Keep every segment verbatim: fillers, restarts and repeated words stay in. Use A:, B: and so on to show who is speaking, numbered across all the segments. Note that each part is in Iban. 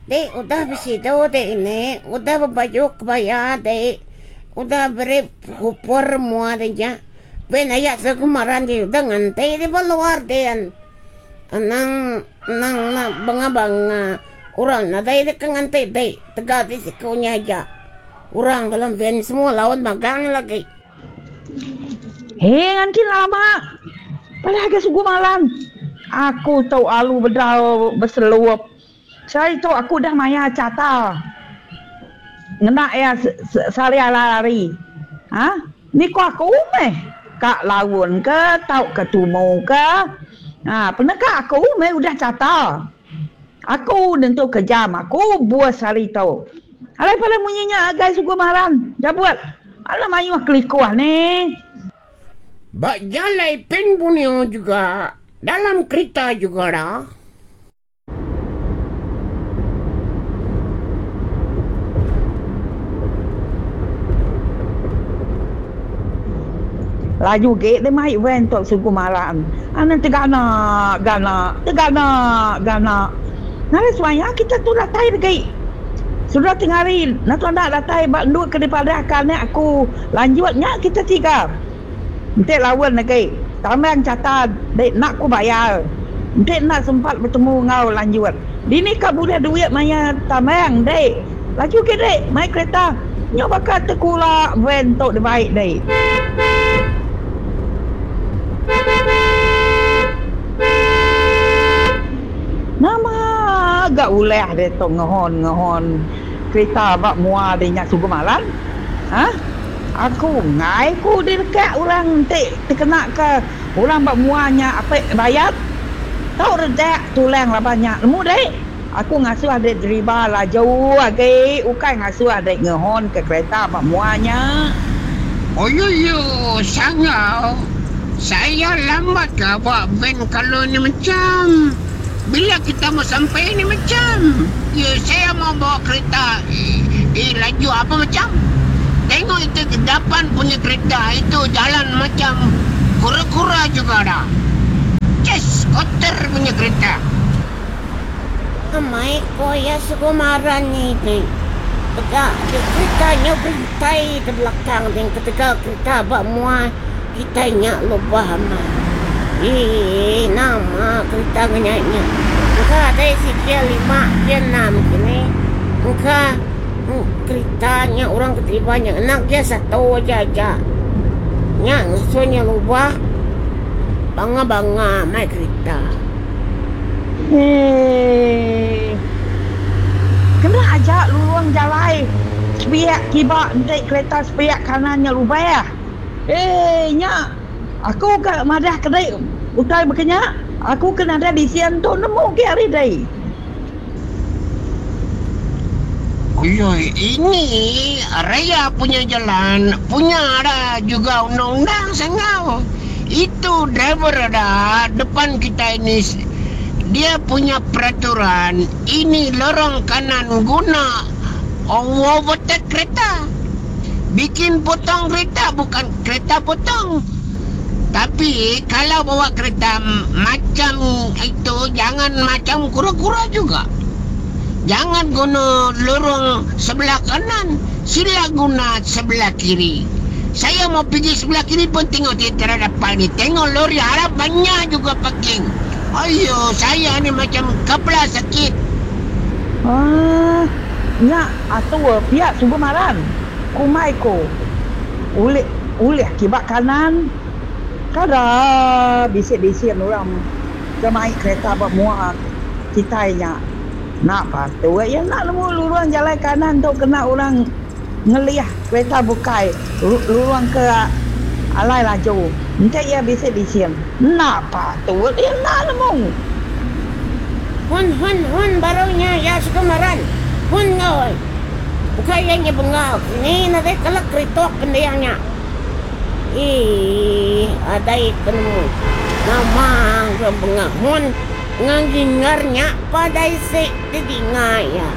A: Dek udah besidu dek ini, udah bebaju kebaya dek, udah beri kupur mua dek nya. Ben aya segemaran dek udah nganti dek ba luar din. Anang anang enda banga-banga orang nadai dek ke nganti dek tegal dek siku nya aja. Orang dalam van semua laun magang lagi.
B: Hee nganti lama padah ga sugu malam aku tu alu bedau beselup. Sehari tu aku udah maya chata ngena iya sehari hari. Ha ni ko aku meh ka laun ke tauka tumu ke ha peneka aku meh udah chata. Aku nentu ke jam aku bus sehari tu. Alai pada munyi nya agai sugu maran jabut alah mayuh kelikuh nih.
A: Ba jalai Pan Borneo juga dalam kerita juga dah.
B: Laju gi deh mai van tu sugu maran. Anang tegana gana tegana gana. Ngagai semaya kita tu datai degi. Sudah tengari natu enda datai ba endur ke dipadahka anak aku lanjut nya kita tiga. Enti laun agi tambang chata dek enda ku bayar. Enti enda sempat betemu enggau lanjut. Dini ka bulih duit maya tambang dek. Laju agi dek mai kereta nyau baka tekula van tu dibai dek. Nama ga ulah ditu ngehon ngehon kereta ba mua deh nya sugu malan. Hah. Aku enggai ku dilekak orang enti tekena ke orang ba mua nya apek bayat. Tau redak tulang laban nya nemu dek. Aku ngasuh dek deriba laju agi ukai ngasuh dek ngehon ke kereta ba mua nya.
A: Oyoyo sangau saya lambat ka ba van kalau ni macam. Bila kita mau sampai ni macam. Ya saya mau bawa kereta eh laju apa macam. Tengok itu depan punya kereta itu jalan macam kura-kura juga dah. Ces kotor punya kereta. Amai ko iya Sukumaran ni ti. Peda ti kereta nya berintai di belakang din ketegal kereta ba mua kitai nya lubah amai. Ii nama kereta ngenya nya. Engka dai sigi lima ke enam kini. Engka kereta nya orang ke deriba nya ngena gear satu aja aja. Nya ngasuh nya lubah banga-banga amai kereta.
B: Hee. Kena aja lurung jalai sepiak kiba enti kereta sepiak kanan nya lubah. Hee nya aku ka madah kedi utai baka nya aku ke nadai lisin tu nemu agi ari dei.
A: Uyoi ini raya punya jalan punya ada juga undang-undang sangau. Itu driver ada depan kita ini dia punya peraturan ini lorong kanan guna overtake kereta. Bikin potong kereta bukan kereta potong. Tapi kalau bawa kereta macam itu jangan macam kura-kura juga. Jangan guna lorong sebelah kanan, sila guna sebelah kiri. Saya mau pergi sebelah kiri pun tengok tentera depan ni. Tengok lori harap banyak juga parking. Ayo, saya ni macam kepala sakit.
B: Aaa, nya atur pia suba maran. Kumbai ku ulih ulih kiba kanan. Kada bisi-bisi orang ke mai kereta ba mua kitai nya. Enda patut iya enda nemu lurung jalai kanan tu kena orang ngelih kereta bukai lurung ke alai laju. Enti iya bisi lisin enda patut iya enda nemu.
A: Hun hun hun baru nya iya Sukumaran. Hun enggau bukai iya nya bengal kini nadai kala keritok pending nya. Iih adai penemu nama ga bengal hun ngengingar nya padai si didinga iya.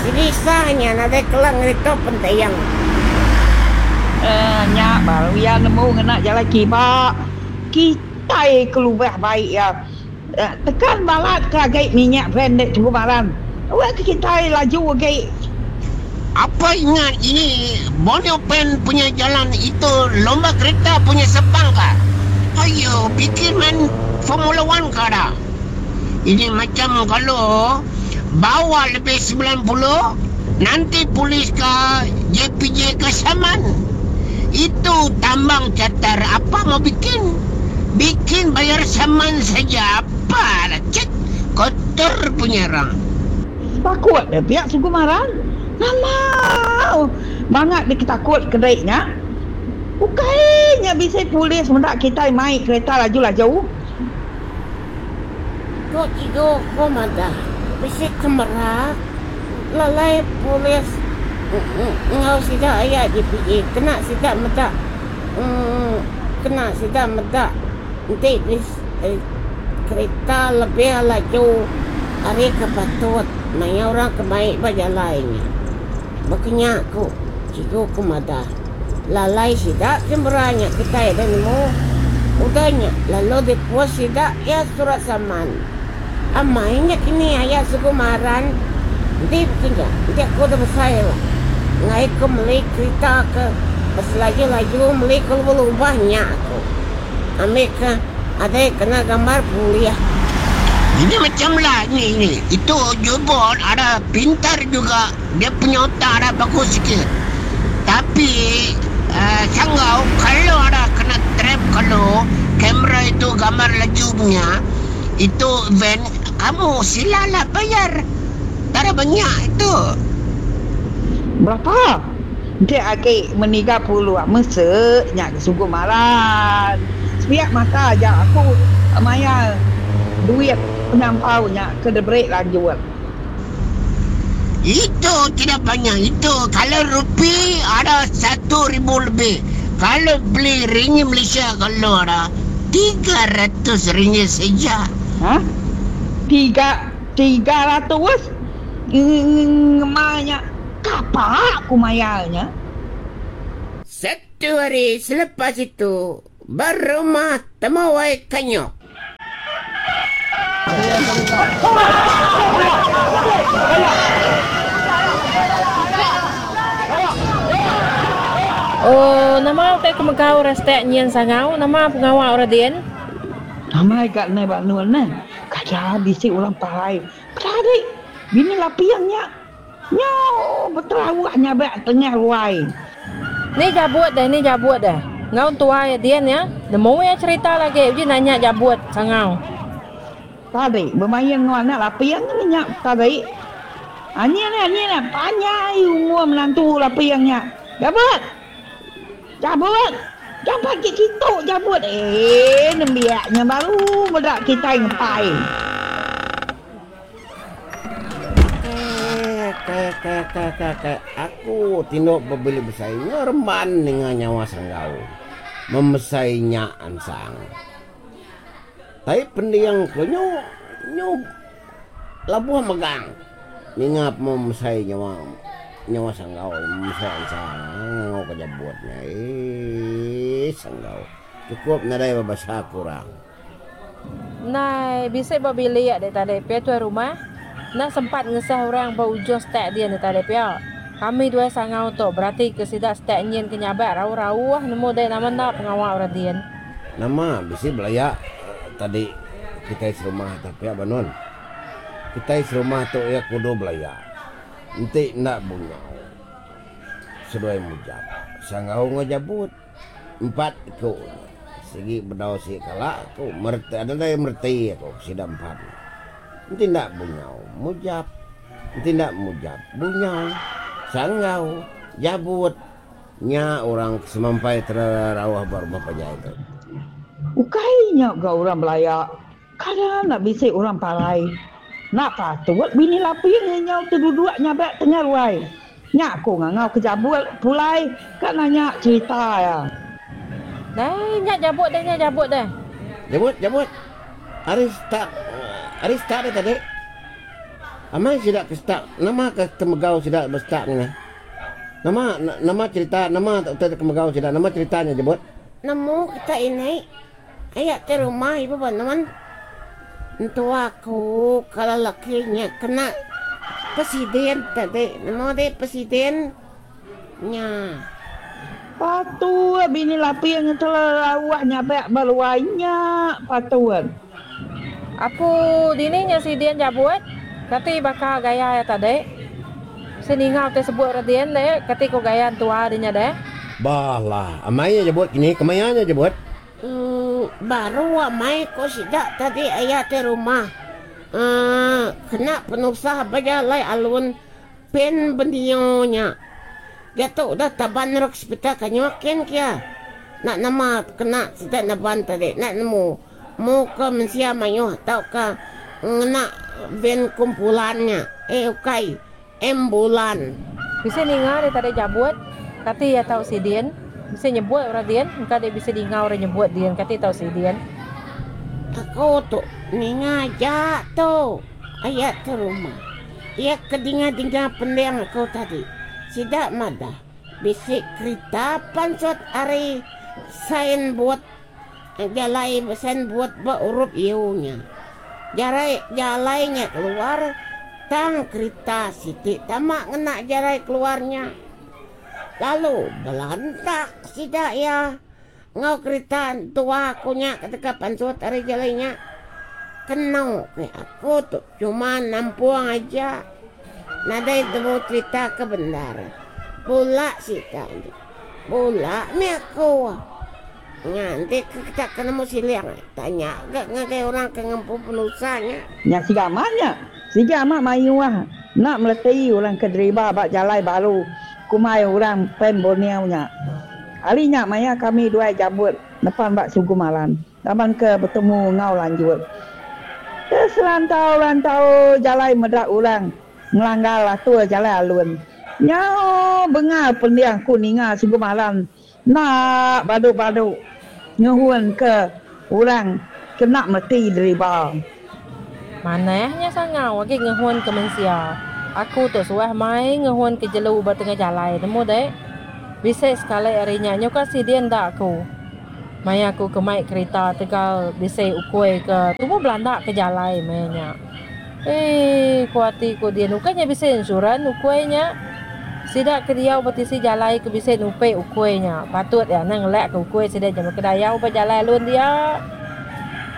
A: Selisa nya nadai kala ngeritok pending.
B: Eeh nya baru iya nemu ngena jalai kiba kitai kelubah bai iya. Tekan balat ke agi minyak van dek Tunggu Maran. Awak kita laju agi.
A: Apa ingat ini Borneo Pen punya jalan itu lomba kereta punya sepang kah? Ayo bikin main Formula One kah dah? Ini macam kalau bawa lebih sembilan puluh, nanti polis ke J P J ke saman. Itu tambang catar apa mau bikin? Bikin bayar saman saja apa lah. Cek kotor punya orang.
B: Takut dah pihak suku marah. Nama bangat dia takut kedainya. Bukainya bisa polis mendak kita mai kereta laju-laju.
C: Kok cikgu ko madah bisi kamera lalai polis ngau sida aya J P J kena sida meda kena sida meda enti kereta lebih laju ari ke patut maya orang ke mai ba jalai nya. Bekenya ku cikgu ku madah lalai sida kamera nya kitai dah nemu udah nya lalu dipos sida iya surat saman. Amai nya kini aya suku maran enti bekenya enti aku dah besai lah ngai ku meli kereta ke beselaju-laju meli ke lubah-lubah nya aku. Ambil ke adai kena gambar pulih.
A: Ini macam lah ni, ni. Itu jubon ada pintar juga. Dia punya otak ada bagus sikit. Tapi uh, sanggau kalau ada kena trap kalau kamera itu gambar laju punya itu van kamu silalah bayar. Tak ada banyak itu.
B: Berapa? Dia agak meniga puluh mesaknya sungguh maran. Sepiak mata aja aku maya duit penyampaunya ke debrik lanjut.
A: Itu tidak banyak itu. Kalau rupi ada satu ribu lebih. Kalau beli ringgit Malaysia kalau ada tiga ratus ringgit saja.
B: Ha? Tiga, tiga ratus? Ngemanya kapak aku mayarnya.
C: Satu hari selepas itu berumah temawai kanyok.
D: Oh, nama utai kemegau restek nyian sangau, nama pengawal orang dien.
B: Nama ikat nai bak nuan nai. Kada bisik orang parai. Peradik, bini lapiangnya. Nyo, berterawaknya bak tengah ruai.
D: Ni jabut dah, ni jabut dah. Ngau tua ya dien ya. Nemu ya cerita lagi, uji nanya jabut sangau.
B: Tadi bermain dengan anak lapiang ni nyak tadi. Ani ni ani ni panjang umur menantu lapiangnya. Jabut. Jabut. Jabut ke situ jabut. Eh nembiaknya baru medak kita ngepai.
C: Ke ke ke ke ke aku tinduk berbeli besainya remban dengan nyawa sanggau. Memesainya ansang. Tapi pendiang ko nyo, nyo labuh megang. Ningap mau mesai nyawa, nyawa sanggau, mesai ansang, ngau kejabutnya. Eh, sanggau. Cukup nadai berbahasa kurang.
D: Nai, bisa berbili ya dek tadi pia tuan rumah. Nak sempat ngesah orang berujung stek dia ni tadi pia. Kami dua sangau tu berarti ke sidak stek nyin kenyabak rau-rau nemu dek nama nak pengawal orang dia.
C: Nama bisa belayak tadi kita serumah tapi apa non? Kita serumah tu ya kudu belayak. Nanti nak bungau. Seduai mujab. Sangau ngajabut. Empat ku. Segi bedau si kalak ku merti ada yang merti aku sida empat. Nanti nak bungau mujab. Nanti nak mujab bungau. Sanggau jabut. Nya orang semampai terawah baru panjang itu.
B: Ukainya gak orang belayak. Kadang nak bisik orang parai. Nak patut bini laping nyau terduduk nyabak tengah ruai. Nyak aku ngangau ke jabut pulai kan nanya cerita ya.
D: Dai nyak jabut dah nyak jabut dah.
C: Jabut jabut. Aris tak Aris tak dah tadi. Amai sidak ke stak nama ke temegau sidak bestak ni. Nama nama cerita nama tak temegau sidak nama ceritanya jabut. Nemu kita ini ayak ke rumah ibu banuan. Entu aku kalau lakinya kena
E: Presiden tadi. Nemu deh presiden nya.
B: Patut bini Laping telelauh nyabak ba luai nya patut.
D: Apu dini nya sidin jabut kati baka gaya iya tadi. Bisi ninga utai sebut orang din deh kati ko gaya entua di nya deh.
C: Bah lah amai nya jabut kini kemaya nya jabut.
E: Emm baru amai ko sida tadi aya ti rumah emm kena penusah bejalai alun pen benio nya. Diatu udah taban rok sepital kanyuh kin kia. Enda nama kena sida neban tadi enda nemu mu ke mensia mayuh tauka ngena van kumpulan nya eh ukai ambulan.
D: Bisi ninga deh tadi jabut kati iya tau sidin bisi nyebut orang din engka deh bisi dinga orang nyebut din kati tau sidin.
E: Aku tu ninga aja tu aya tu rumah. Iya ke dinga-dinga pending aku tadi. Sida madah bisi kerita pansut ari sign board jalai sign board ba urup U nya. Jarai jalai nya keluar tang kerita siti tama ngena jalai keluar nya. Lalu belantak sida iya enggau kerita entua aku nya ke deka pansut ari jalai nya. Kenu ke aku tu cuma nampung aja. Nadai temu cerita ke bendar. Bula sida nya. Bula mih aku. Nya enti ke kita ke nemu siling tanya ga ngagai orang ke ngempu penusah nya.
B: Nya siga amat nya. Siga amat mayuh enda meleti orang ke deriba ba jalai baru kumbai orang Pan Borneo nya. Ari nya maya kami duai jabut nepan ba Sugu Malan laban ke betemu enggau lanjut. Ke serantau-rantau jalai meda orang ngelanggar atur jalai alun. Nyau bengal pending aku ninga Sugu Malan enda badu-badu ngehun ke orang ke enda mereti deriba.
D: Manah nya sangau agi ngehun ke mensia. Aku tu suah mai ngehun ke jelu ba tengah jalai nemu deh. Bisi sekali ari nya nyuka sidin enda aku. Maya aku ke mai kerita tegal bisi ukui ke tumu belanda ke jalai meh nya. Eii ku ati ku din ukai nya bisi insurans ukui nya. Sida ke diau ba tisi jalai ke bisi nupi ukui nya patut iya anang ngelak ke ukui sida nya meh kedayau ba jalai alun dia.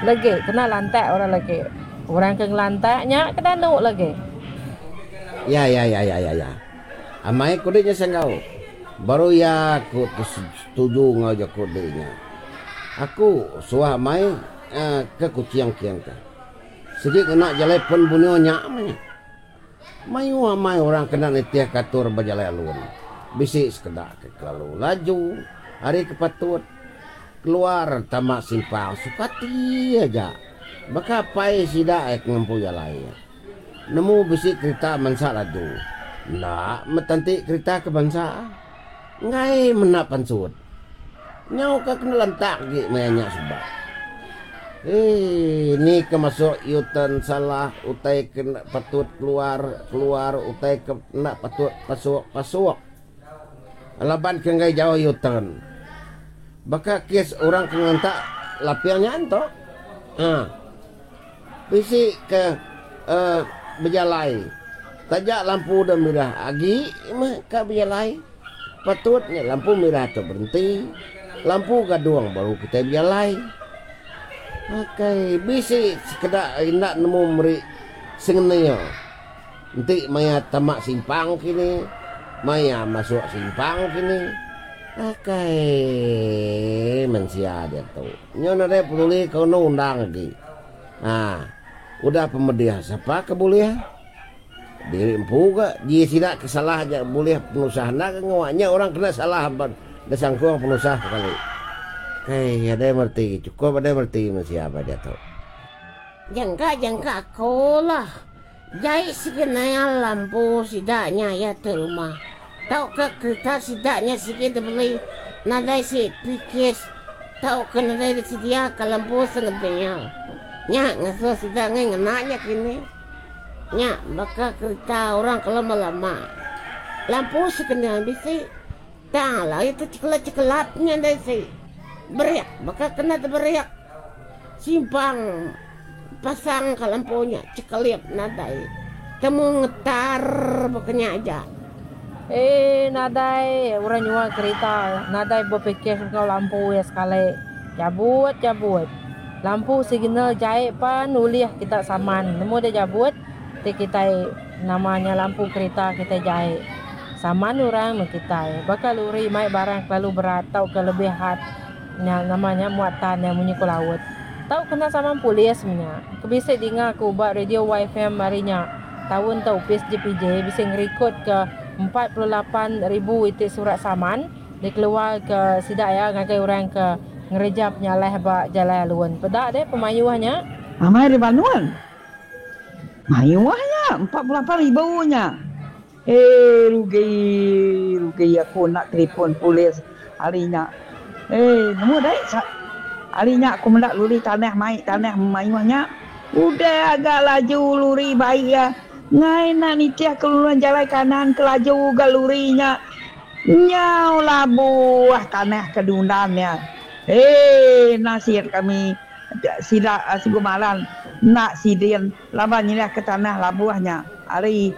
D: Legi kena lantak orang legi. Orang ke ngelantak nya ke danu legi.
C: Ya ya ya ya ya ya. Amai ku dek nya sanggau. Baru iya aku setuju enggau jaku dek nya. Aku suah amai ke Kuching king ka. Sigi ngena jalai pen Borneo nya meh nya. Mayuh amai orang kena nitih ka atur ba jalai alun. Bisi sekeda ke kelalu laju ari ke patut keluar tama simpang suka ati aja. Baka apai sida ke ngempu jalai. Nemu bisi kerita mansa laju. Enda meh tenti kerita ke bansa. Enggai menda pansut. Nyau ka kena lantak agi maya nya suba. Eii ni ke masuk U-turn salah utai ke enda patut keluar keluar utai ke enda patut pasuk pasuk. Laban ke enggai jauh U-turn. Baka kes orang ke ngentak laping nya ento. Haa. Bisi ke uhh bejalai taja lampu da mirah agi meh ka bejalai. Patut nya lampu mirah tu berenti, lampu gadung baru kitai bejalai. Akai bisi sekeda enda nemu meri sengenil enti maya tama simpang kini, maya masuk simpang kini. Akai mensia diatu. Nyu nadai peduli ke undang-undang agi. Haa udah pemedih sapa ke bulih. Diri empu ga ji sida ke salah aja bulih penusah enda ga ngawa nya orang kena salah ba da sangkung penusah sekali. Kai adai mereti chukup adai mereti mensia ba diatu.
E: Jangka jangka aku lah jai sigi nayal lampu sida nya iya ti rumah tauka kerita sida nya sigi dibeli nadai si pikis tauka nadai disedia ka lampu sengedil nya ngasuh sida ngai ngena nya kini. Nya baka kerita orang ke lama-lama. Lampu sekena bisi tang alai tu cekelap-cekelap nya ndai si. Berik baka kena teberik. Simpang pasang ka lampu nya cekelip nadai. Temu ngetar baka nya aja.
D: Eh nadai orang nyual kerita nadai bepikir enggau lampu iya sekali. Jabut jabut. Lampu signal jai pan ulih kita saman. Nemu deh jabut ti kitai nama nya lampu kerita kitai jai. Saman orang meh kitai. Baka luri mai barang kelalu berat tauka lebih had nya nama nya muatan iya munyi ku laut. Tau kena saman polis meh nya. Ke bisi dinga ku ba radio Y F M hari nya taun tu opis J P J bisi ngerikod ke empat puluh lapan ribu iti surat saman dikeluar ke sida iya ngagai orang ke ngereja penyalah ba jalai alun. Peda deh pemayuh nya.
B: Amai deh banun. Mayuh nya, empat puluh lapan ribu nya. Eh rugi, rugi aku enda telefon polis hari nya. Eh nemu deh hari nya aku meda luri tanah mai tanah mayuh nya. Udah ga laju luri bai iya. Ngai enda nitih ke lurung jalai kanan ke laju ga luri nya. Nyau labuh tanah ke diundan iya. Eh nasit kami sida Sigu Malan enda sidin laban nyeliah ke tanah labuh nya ari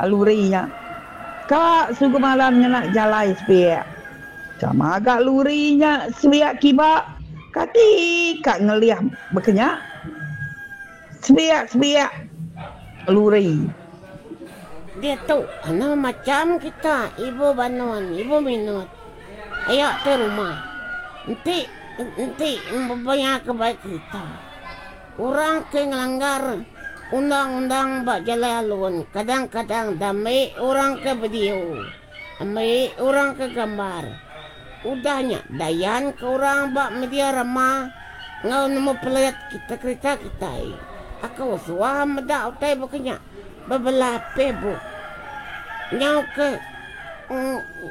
B: luri nya. Ka Sigu Malan ngena jalai sepiak. Sama ga luri nya sepiak kiba kati ka ngelih baka nya. Sepiak-sepiak luri.
E: Diatu anu macham kita ibu banun ibu minut aya ti rumah enti enti bebaya ke bai kerita orang ke ngelanggar undang-undang ba jalai alun kadang-kadang dami orang ke video ambi orang ke gambar udah nya dayan ke orang ba media rama enggau nemu pelet kita kerita kitai. Aku suah meda utai baka nya bebelah Facebook. Nyau ke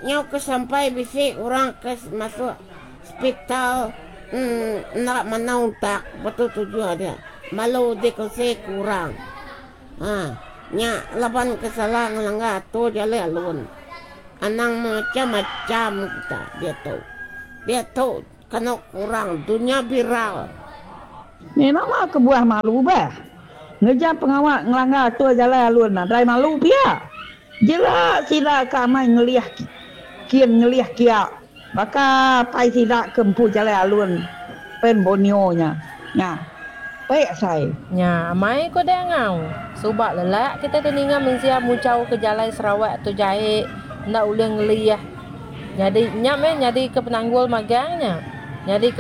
E: nyau ke sampai bisi orang ke masuk sepital enda manah untak betu tujuh dia malu dikongsi ke orang. Ha nya laban ke salah ngelanggar atur jalai alun. Anang macam-macam kita diatu. Diatu kenu kurang dunya viral.
B: Ni nama kebuah malu bah. Ngereja pengawa ngelanggar atur jalai alun nadai malu pia. Jela sida ke amai ngelih kin ngelih kia baka apai sida ke empu jalai alun Pan Borneo nya. Nya. Pek sai.
D: Nya amai ko deh ngau. Suba lelak kitai tu ninga mensia muchau ke jalai Sarawak tu jai enda ulih ngelih. Nyadi nya meh nyadi ke penanggul magang nya. Nyadi ke